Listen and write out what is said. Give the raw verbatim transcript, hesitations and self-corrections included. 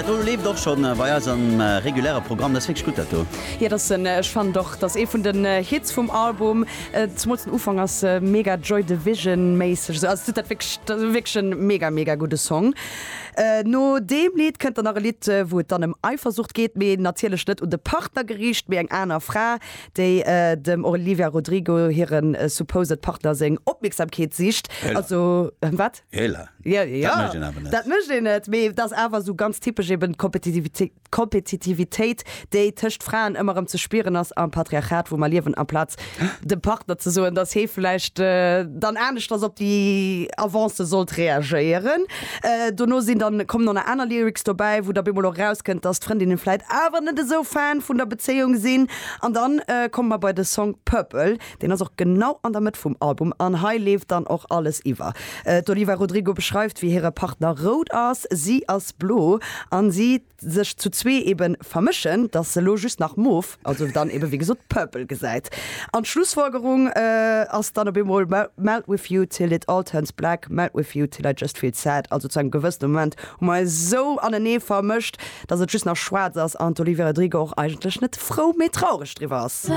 Dat do leeft och schonn äh, bei eis am äh, reguläre Programm, dat ass wierklech gutt, dat do. Jo, dat ass en, ech fannen och, dat ass ee vun den äh, Hits vum Album. Äh, zemools den Ufank ass äh, mega Joy Division méisseg. Also dat wierklech, dat ass wierklech e mega mega gudde Song. Äh, no deem Lidd kënnt dann nach e Lidd, äh, wou et dann ëm Eifersucht geet, mee natierlech net un de Partner geriicht, mee eng aner Fra, déi äh, dem Olivia Rodrigo hiren äh, supposed Partner seng Opmierksamkeet sicht. Hella. Also äh, wat? Hella. Jo, jo. Dat mécht een awer net. Dat mécht een net, mee dat ass awer sou ganz typesch eben Kompetitivitéit, Kompetitivitéit, déi tëscht Fraen ëmmer erëm ze spieren ass am Patriarchat, wou mer liewen, amplaz dem Partner ze soen, dass hie vläicht äh, dann aneschters op déi Avancë sollt reagéieren. Äh, dono sinn dann kommen nach aner Lyrics dobäi, wou da bemol och rauskënnt, dass d'Frëndinne vläicht awer net esou Fan vun der Bezéiung sinn. An dann äh, komme mer bei de Song Purple, deen ass och genau an der Mëtt vum Album an hei leeft dann och alles iwwer. Äh, d'Olivia Rodrigo beschreift, wéi hire Partner rout ass, si ass blo an si sech zu zwee eben vermëschen, dass se lo just nach mof, also dann eben wéi gesot purple gesäit. An d'Schlussfolgerung äh, ass dann op eemol melt with you till it all turns black, melt with you till I just feel sad, also zu engem gewëssene Moment hu mer sou anenee vermëscht, dass et just nach schwaarz ass an d'Olivia Rodrigo och eigentlech net frou, mee traureg driwwer ass.